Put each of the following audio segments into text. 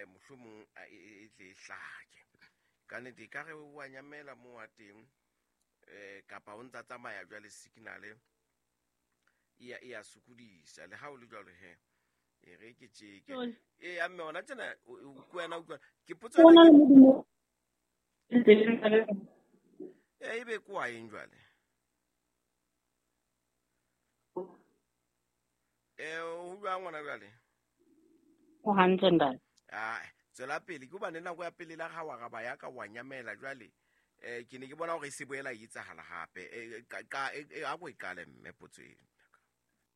Mohlomong e tle e hlake. Ka nnete ka re wa nyamela mo wa teng, kapa o ntsa tsamaya jwale signal e ya sokodisa. Le ha o le jwalo he, e re ke tjeke. E ya mme hona tjena o wena utlwa ke potso ena ke e be ko wa eng jwale? O jwang ngwana jwale? O hantle ntate. Ah, tswela pele ke hobane nako ya pele la ga wa raba ya ka wa nyamela jwale. Ke ne ke bona hore e se boela e etsahala hape. A ko e qale mme potso eno.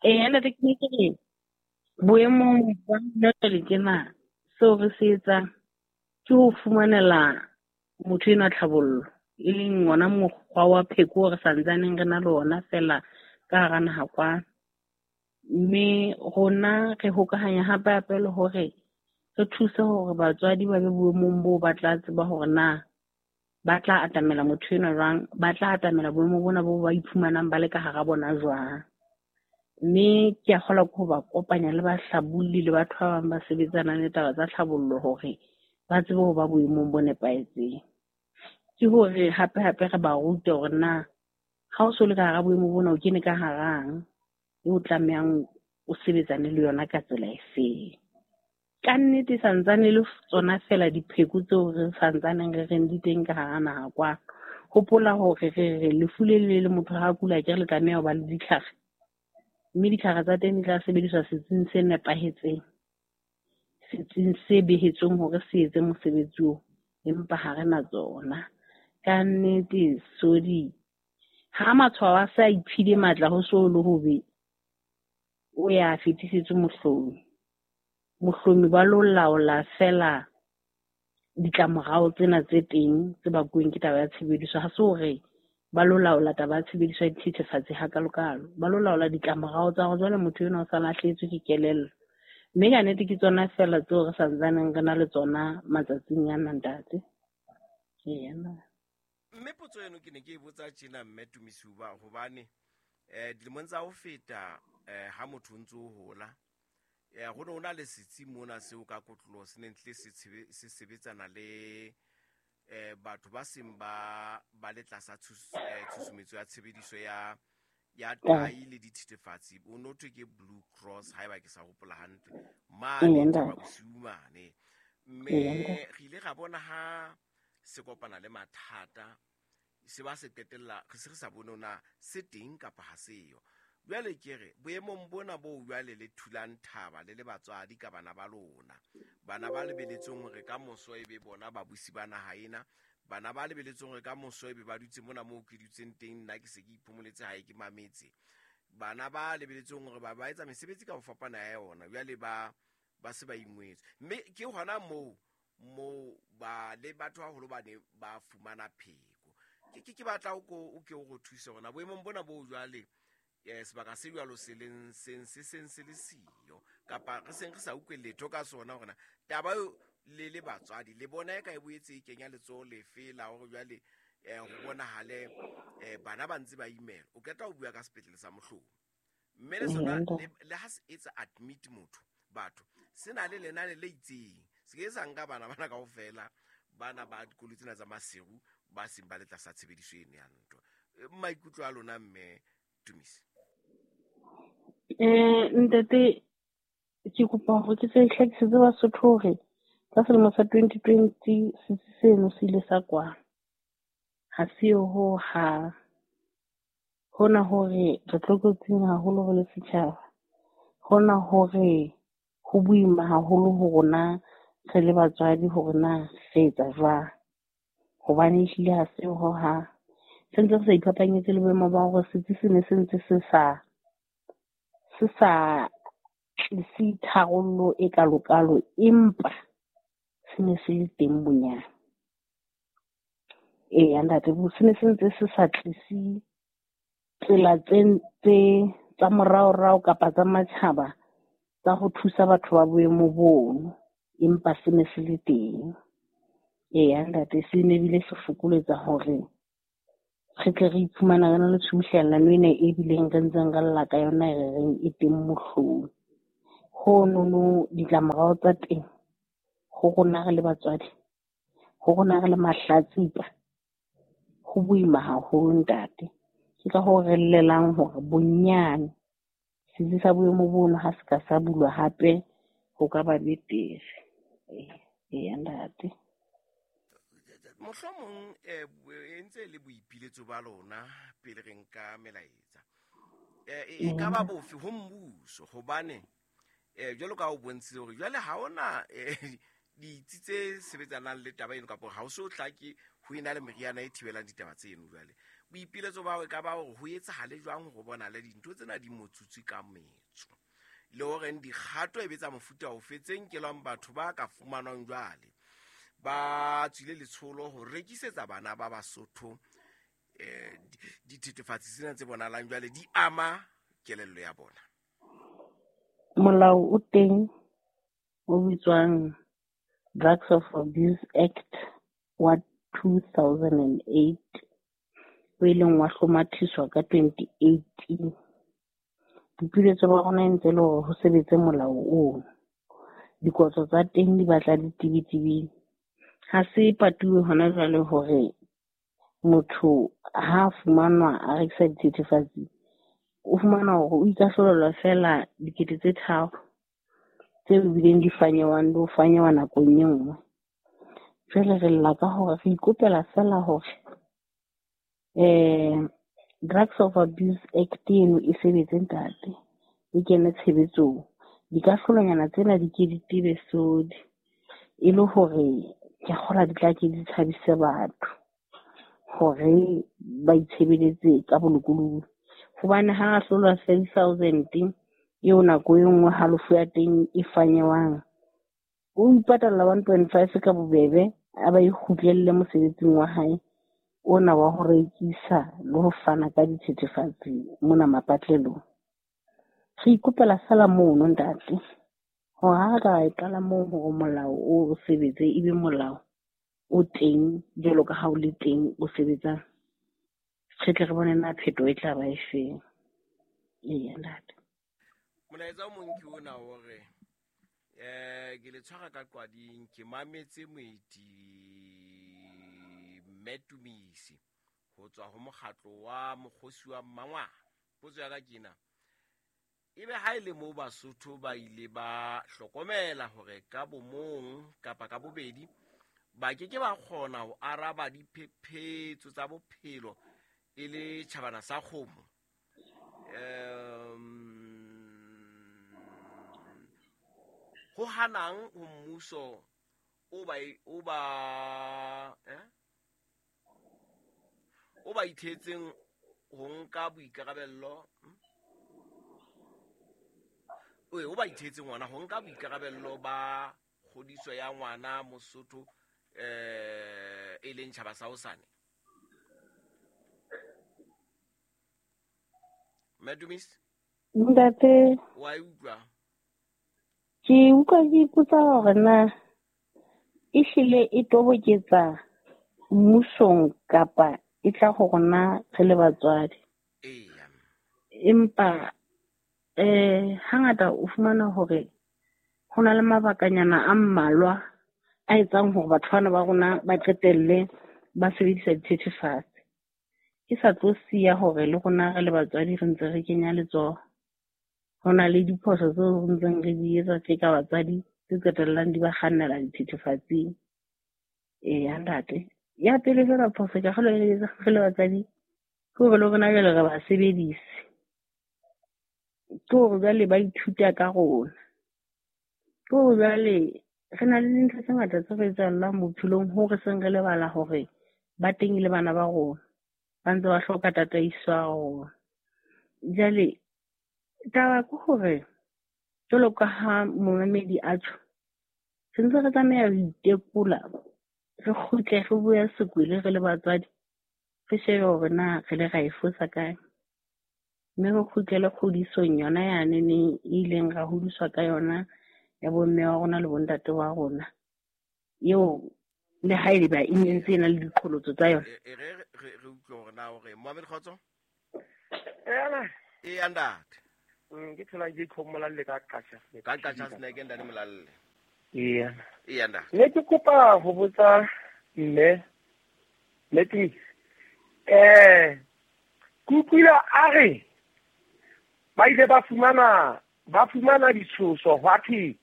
Ntate ke ne ke re boemong ba jwale tjena seo re se etsang ke ho fumanela motho enwa tlhabollo, e leng ona mokgwa wa pheko re santsaneng re na le ona fela ka hara naha kwano. Mme rona re hokahanya hape hape le hore re thuse hore batswadi ba be boemong boo ba tla tseba hore na ba tla atamela motho enwa jwang, ba tla atamela boemo bona bo ba iphumanang ba le ka hara bona jwang. Mme ke a kgolwa ke ho ba kopanya le bahlabolli le batho ba bang ba sebetsanang le taba tsa tlhabollo hore ba tsebe ho ba boemong bo nepahetseng. Ke hore hape hape re ba rute hore na ha o so le ka hara boemo bona o kene ka harang, o tlamehang o sebetsane le yona ka tsela efeng. Ka nnete santsane le tsona fela dipheko tseo re santsaneng re reng di teng ka hara naha kwano. Hopola hore re re lefu le le le motho ha a kula akere le tlameha ho ba le ditlhare. Mme ditlhare tsa teng di tla sebediswa setsing se nepahetseng, setsing se behetsweng hore se etse mosebetsi oo, empa ha re na tsona. Ka nnete sodi ha matshwao a sa iphile matla ho so le hobe, o ya fetisetswe mohlomi. Mohlomi ba lo laola fela ditlamorao tsena tse teng tse bakuweng ke taba ya tshebediso. Ha se hore ba lo laola taba ya tshebediso ya dithethefatsi hakalokalo, ba lo laola ditlamorao tsa hore jwale motho enwa o sa lahlehetswe ke kelello. Mme ka nnete ke tsona fela tseo re santsaneng re na le tsona matsatsing ana ntate. Eya. Mme potso eno ke ne ke e botsa tjena mme Tumisiwa hobane dilemong tsa ho feta ha motho o ntso o hola, ho ne ho na le setsi mona seo ka kotloloho se neng tle se sebetsana le batho ba seng ba le tlasa tshusumetso ya tshebediso ya tai le dithethefatsi. O no thwe ke Blue Cross haeba ke sa hopola hantle mane Thaba Bosiu mane. Mme re ile ra bona ha se kopana le mathata se ba se qetella re se re sa bone na se teng kapa ha seyo. Jwale ke re boemong bona bo jwale le thulang thaba le le batswadi ka bana ba lona, bana ba lebeletseng hore ka moso e be bona babusi ba naha ena, bana ba lebeletseng hore ka moso e be ba dutse mona moo ke dutseng teng, nna ke se ke iphomoletse hae ke mametse, bana ba lebeletseng hore ba etsa mesebetsi ka ho fapana ya yona, jwale ba se ba ingwetswe. Mme ke hona moo mo ba le batho haholo ba ne ba fumana pheko. Ke batla o ke o go thuse hona boemong bona bo jwale, sebaka se jwalo se leng seng se seng se le siyo kapa re seng re sa utlwe letho ka sona hore na taba eo le le batswadi le bona e ka e boetse e kenya letsoho lefe la hore jwale ho bonahale bana ba ntse ba imela. O qeta ho bua ka sepetlele sa Mohlomi, mme le sona le ha se etsa admit motho batho se na le lenane le itseng, se ke sa nka bana bana kaofela bana ba dikoloi tsena tsa Maseru ba seng ba le tlasa tshebediso eno ya ntho. Maikutlo a lona mme Tumisi? Ntate ke kopa hore ke tse hlakisetse Basotho hore ka selemo sa 2020 setsi seno se ile sa kwalwa. Ha se yo ho hang. Hona hore re tlokotsing haholo re le setjhaba. Hona hore ho boima haholo ho rona re le batswadi hore na re etsa jwang. Hobane ehlile ha se ho hang. Se ntse re sa iphapanyetse le boemo ba hore setsi se ne se ntse se sa tlise tharollo e kalokalo, empa se ne se le teng bonyane. Eya ntate, se ne se ntse se sa tlise tsela tse tsa moraorao kapa tsa matjhaba tsa ho thusa batho ba boemo bono, empa se ne se le teng. Eya ntate, se ne bile se fokoletsa hore re tle re iphumana re na le tshubuhlellano ena e bileng re ntseng re lla ka yona e re reng e teng Mohlomi. Honono ditlamorao tsa teng Ho rona re le batswadi, ho rona re le mahlatsipa, ho boima haholo ntate. Ke ka hoo re llelang hore bonyane setsi sa boemo bono ha se ka sa bulwa hape ho ka ba betere. Eya ntate. Mohlomong e ntse le boipiletso ba lona pele re nka melaetsa. E ka ba bofe ho mmuso hobane jwalo ka o bontshitse hore jwale ha ona ditsi tse sebetsanang le taba eno kapa ha o so hlake ho ena le meriana e thibelang ditaba tseno. Jwale boipiletso ba e ka ba hore ho etsahale jwang hore bona le dintho tsena di motsutswe ka metso le hore dikgato e betsa mofuta ofe tse nkelwang batho ba ka fumanwang jwale ba tswile letsholo ho rekisetsa bana ba Basotho dithethefatsi tsena tse bonahalang jwale di ama kelello ya bona. Molao o teng o bitswang Drugs of Abuse Act wa 2008 o ileng wa hlomathiswa ka 2018. Boipiletso ba rona e ntse le hore ho sebetse molao ono. Dikotlo tsa teng di batla di tebetebile. Ha se patuwe hona jwale hore motho ha fumanwa a rekisa dithethefatsi, o fumana hore o ikahlolelwa feela 3 000 tse bileng di fanyewang le ho fanyewa nakong e nngwe. Jwale re lla ka hore re ikopela feela hore Drugs of Abuse Act eno e sebetse ntate, e kene tshebetsong. Dikahlolonyana tsena di ke di tebe sodi e le hore ke kgola di tla ke di tshabise batho hore ba itshebeletse ka bolokolohi. Hobane ha ahlolwa 5 000 eo nako e nngwe halofo ya teng e fanyewang, o ipatalla 1.5 ka bobebe, a ba e kgutlelle mosebetsing wa hae ona wa ho rekisa le ho fana ka dithethefatsi mona mapatlelong. Re ikopela feela mono ntate hore ha re ka e qala moo hore molao o sebetse, ebe molao o teng jwalo ka ha o le teng o sebetsang, re tle re bone na phetho e tla ba e feng. Eya ntate. Molaetsa o mong ke ona hore ke le tshwara ka qwading, ke mametse moeti Mme Tumisi ho tswa ho mokgatlo wa mokgosi wa Mmangwana. Potso ya ka ke ena, ebe ha e le moo Basotho ba ile ba hlokomela hore ka bomong kapa ka bobedi ba ke ke ba kgona ho araba diphephetso tsa bophelo e le tjhabana sa kgomo, ho hanang ho mmuso o ba ithetseng ho nka boikarabello, o ba ithetseng ngwana ho nka boikarabello ba kgodiso ya ngwana Mosotho e leng tjhaba sa hosane. Madumis? Ntate, wa utlwa? Ke utlwa ke ipotsa hore na ehlile e toboketsa mmusong kapa e tla ho rona re le batswadi. Eya. Empa hangata o fumana hore ho na le mabakanyana a mmalwa a etsang hore batho bana ba rona ba qetelle ba sebedisa dithethefatsi. Ke sa tlo siya hore le rona re le batswadi re ntse re kenya letsoho. Ho na le diphoso tseo re ntseng re di etsa tje ka batswadi tse qetellang di ba kgannela dithethefatsing. Eya ntate. Ya pele feela phoso ka kgolwa e etsa re le batswadi ke hore le rona jwale re ba sebedise. Ke hore jwale ba ithuta ka rona. Ke hore jwale re na le dintho tse ngata tse re etsahallang bophelong hoo re seng re lebala hore ba teng le bana ba rona. Ba ntse ba hloka tataiso ya rona. Jwale taba ke hore jwalo ka ha momamedi a tjho, re ntse re tlameha ho itekola, re kgutle re boye sekwele re le batswadi, re shebe hore na re le ra e fosa kae. Mme re kgutlele kgodisong yona yane neng e ileng ra hodiswa ka yona ya bomme wa rona le bontate wa rona. Eo le ha eba e ne ntse e na le diqholotso tsa yona. E re re utlwe hore na hore Mohammed Kgotso? Ena. E ntate. Ke thola ke khomolalle ka Qacha. Ka Qacha Snack ntate Molalle. Eya. Eya ntate. Ne ke kopa ho botsa mme Tumisi. Ke utlwile a re ba ile ba fumana ditshoso hwa thwe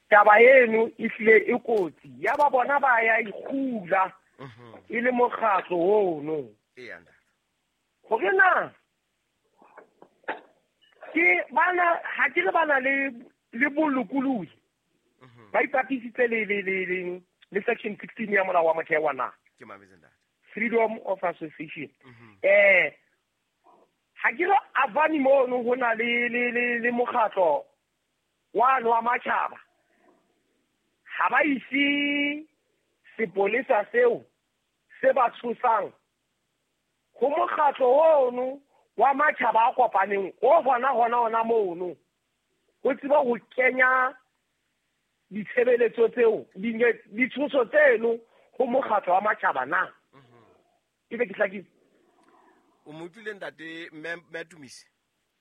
taba eno e hlile e kotsi. Ya ba bona ba ya ikgula e le mokgatlo ono. Eya ntate. Hore na ke bana ha ke re bana le bolokolohi. Ba ipapisitse le section 16 ya molao wa motheo wa naha. Ke mametse ntate. Freedom of association. Ha ke re avani mono ho na le mokgatlo wa wa matjhaba. Ha ba ise sepolesa seo se ba tshosang ho mokgatlo ono wa matjhaba a kopaneng o hona mono. Ho tseba ho kenya ditshebeletso tseo ditshoso tseno ho mokgatlo wa matjhaba na. Ebe ke hlakile. O mo utlwile ntate mme Tumisi?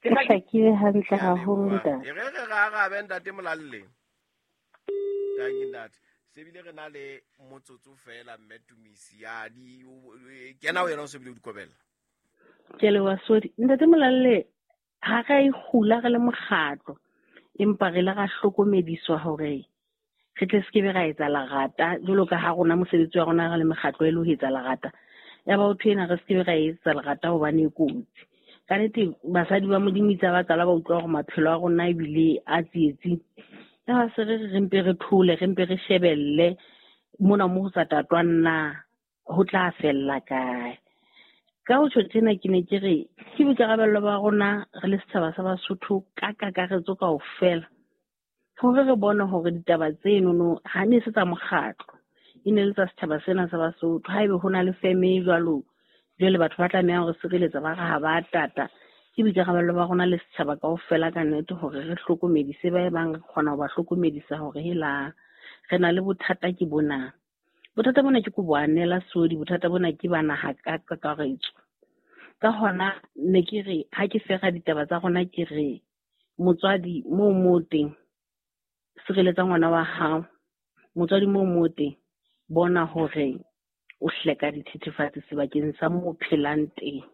Ke hlakile hantle haholo ntate. E re re arabe ntate Molalle. Tanki ntate. Se bile re na le motsotso fela mme Tumisi ya di kena o yena o se bile o dikobela. Ke le wa sodi. Ntate Molalle ha re ikgula re le mokgatlo empa re le ra hlokomediswa hore re tle se ke be ra etsa lerata jwalo ka ha rona mosebetsi wa rona re le mekgatlo e le ho etsa lerata. Ya ba ho thwena re se ke be ra etsa lerata hobane e kotsi. Ka nnete basadi ba Modimo itse ba qala ba utlwa hore maphelo a rona ebile a tsietsi. Ya ba se re mpe re thole, re mpe re shebelle mona mo ho sa tatwang na ho tla fella kae. Ka ho tjho tjena ke ne ke re ke boikarabello ba rona re le setjhaba sa Basotho ka kakaretso kaofela hore re bone hore ditaba tsenono ha ne se tsa mokgatlo e ne le tsa setjhaba sena sa Basotho. Haebe ho na le feme e jwalo jwale batho ba tlameha hore sireletsa ba re ha ba tata. Ke boikarabello ba rona le setjhaba kaofela ka nnete hore re hlokomedise ba e bang re kgona ho ba hlokomedisa hore hela re na le bothata ke bona. Bothata bona ke ko boanela sodi, bothata bona ke ba naha ka kakaretso. Ka hona ne ke re ha ke fera ditaba tsa rona ke re motswadi moo teng sireletsa ngwana wa hao. Motswadi moo teng bona hore o hleka dithethefatsi sebakeng sa moo phelang teng.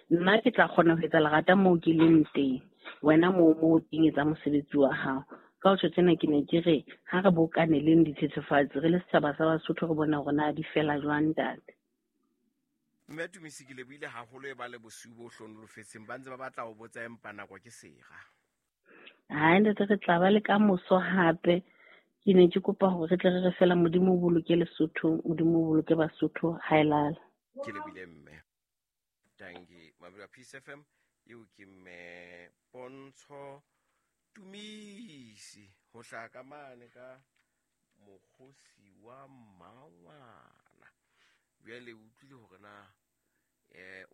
Nna ke tla kgona ho etsa lerata moo ke leng teng, wena moo teng etsa mosebetsi wa hao. Ka ho tjho tjena ke ne ke re ha re bokaneleng dithethefatsi re le setjhaba sa Basotho re bona hore na di fela jwang ntate. Mme Tumisi ke lebohile haholo e ba le bosiu bo hlonolofetseng ba ntse ba batla ho botsa empa nako ke sera. Hai ntate re tla ba le ka moso hape. Ke ne ke kopa hore re tle re re fela Modimo o boloke Lesotho, Modimo o boloke Basotho ha e lala. Ke lebohile mme. Tanki Mabula Peace FM eo ke mme Pontsho Tumisi ho hlaka mane ka mokgosi wa mmangwana. Jwale o utlwile hore na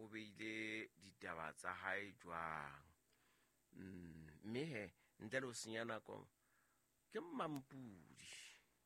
o beile ditaba tsa hae jwang. Mme he ntle le ho senya nako ke Mampudi.